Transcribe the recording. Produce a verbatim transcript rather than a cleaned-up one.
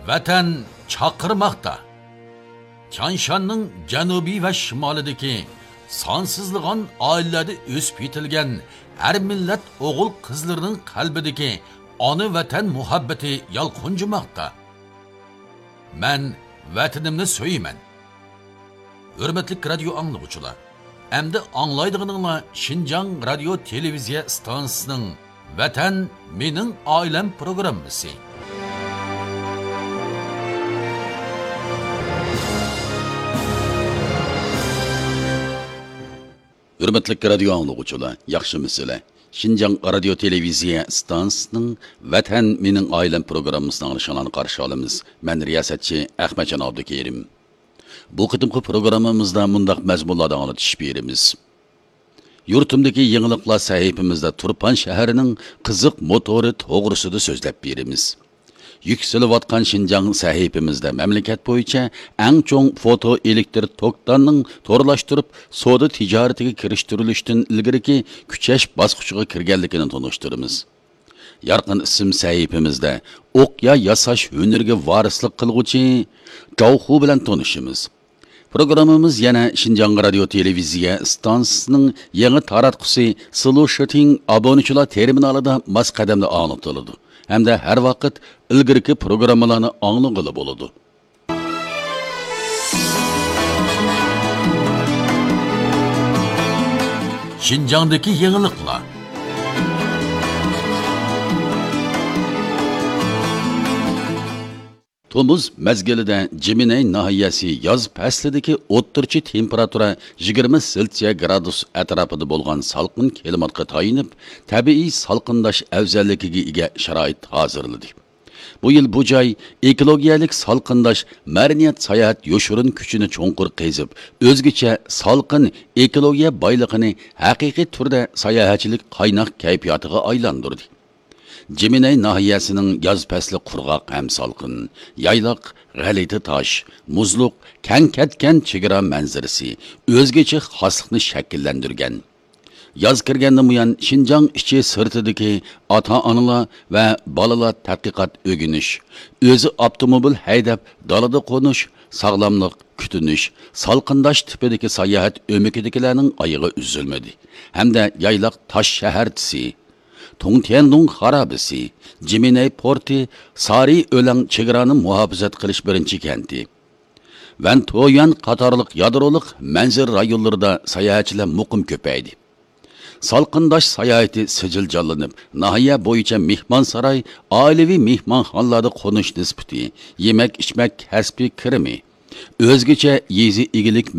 ۋەتەن چاقىرماقتا. تيانشاننىڭ جەنۇبى ۋە شىمالىدىكى سانسىزلىغان ئائىلىلەردە ئۆسۈپ يېتىلگەن ھەر مىللەت ئوغۇل-قىزلىرىنىڭ قەلبىدىكى ئانا ۋەتەن مۇھەببىتى يالقۇنجىماقتا. مەن ۋەتىنىمنى سۆيىمەن. ھۆرمەتلىك رادىيو ئاڭلىغۇچىلار، ئەمدى ئاڭلايدىغىنىڭلار شىنجاڭ رادىيو تېلېۋىزىيە ئىستانسىسىنىڭ ۋەتەن مېنىڭ ئائىلەم پروگراممىسى. ھۆرمەتلىك رادىيو ئاڭلىغۇچىلار، ياخشىمۇسىلەر؟ شىنجاڭ رادىيو تېلېۋىزىيە ئىستانسىسىنىڭ ۋەتەن مېنىڭ ئائىلەم پروگراممىسىنى ئاڭلىشىڭلارنى قارشى ئالىمىز. مەن رىياسەتچى ئەخمەتجان ئابدۇكېرىم. بۇ قېتىمقى پروگراممىمىزدا مۇنداق مەزمۇنلاردا ئاڭلىتىش بېرىمىز. يۇرتۇمدىكى يېڭىلىقلار سەھىپىمىزدە تۇرپان شەھىرىنىڭ قىزىق موتورى توغرىسىدا سۆزلەپ بېرىمىز. يۈكسىلىۋاتقان شىنجاڭ سەھىپىمىزدە مەملىكەت بويىچە ئەڭ چوڭ فوتو ئېلېكتر توكتاننىڭ تورلاشتۇرۇپ سودا تىجارىتىگە كىرىشتۈرۈلۈشتىن ئىلگىرىكى كۈچەش باسقۇچىغا كىرگەنلىكىنى تونۇشتۇرىمىز. يارقىن ئىسىم سەھىپىمىزدە ئوقيا ياساش ھۈنىرىگە ۋارىسلىق قىلغۇچى جاۋخۇ بىلەن تونۇشىمىز. پروگراممىمىز يەنە شىنجاڭ رادىيو تېلېۋىزىيە ئىستانسىسىنىڭ يېڭى تاراتقۇسى سلۇشىتىڭ ئابۇنىچىلار تېرمىنالىدا ماس قەدەمدە ئاڭلىتىلىدۇ ھەمدە ھەر ۋاقىت ئىلگىرىكى پروگراممىلارنى ئاڭلىغىلى بولىدۇ. شىنجاڭدىكى يېڭىلىقلار. تومۇز مەزگىلىدە جىمىنەي ناھىيەسى ياز پەسلىدىكى ئوتتۇرىچە تېمپېراتۇرا يىگىرمە سېلسىيە گرادۇس ئەتراپىدا بولغان سالقىن كىلىماتقا تايىنىپ، تەبىئىي سالقىنداش ئەۋزەللىكىگە ئىگە شارائىت ھازىرلىدى. بۇ يىل بۇ جاي ئېكولوگىيەلىك سالقىنداش مەدەنىيەت ساياھەت يوشۇرۇن كۈچىنى چوڭقۇر قېزىپ، ئۆزگىچە سالقىن ئېكولوگىيە بايلىقىنى ھەقىقىي تۈردە ساياھەتچىلىك قايناق كەيپىياتىغا ئايلاندۇردى. جىمىنەي ناھىيەسىنىڭ ياز پەسلى قۇرغاق ھەم سالقىن، يايلاق، غەلىتە تاش، مۇزلۇق، كەڭ كەتكەن چېگرا مەنزىرىسى ئۆزگىچە خاسلىقنى شەكىللەندۈرگەن. ياز كىرگەندىن بۇيان، شىنجاڭ ئىچى سىرتىدىكى ئاتا-ئانىلار ۋە بالىلار تەتقىقات ئۆگىنىش، ئۆزى ئاپتوموبىل ھەيدەپ دالىدا قونۇش، ساغلاملىق، كۈتۈنۈش، سالقىنداش تىپىدىكى ساياھەت ئۆمىكىدىكىلەرنىڭ ئايىغى ئۈزۈلمىدى ھەمدە يايلاق تاش شەھەرچىسى، تۇڭتيەندۇڭ خارابىسى، جىمىنەي پورتى، سارى ئۆلەڭ چېگرانى مۇھاپىزەت قىلىش بىرىنچى كەنتى، ۋەنتويۈەن قاتارلىق يادرولۇق مەنزىرە رايونلىرىدا ساياھەتچىلەر مۇقىم كۆپەيدى. سالقىنداش ساياھىتى سىجىل جانلىنىپ، ناھىيە بويىچە مېھمانساراي، ئائىلىۋى مېھمانخانىلاردا قونۇش نىسبىتى، يېمەك-ئىچمەك كەسپىي كىرىمى، ئۆزگىچە يېزا ئىگىلىك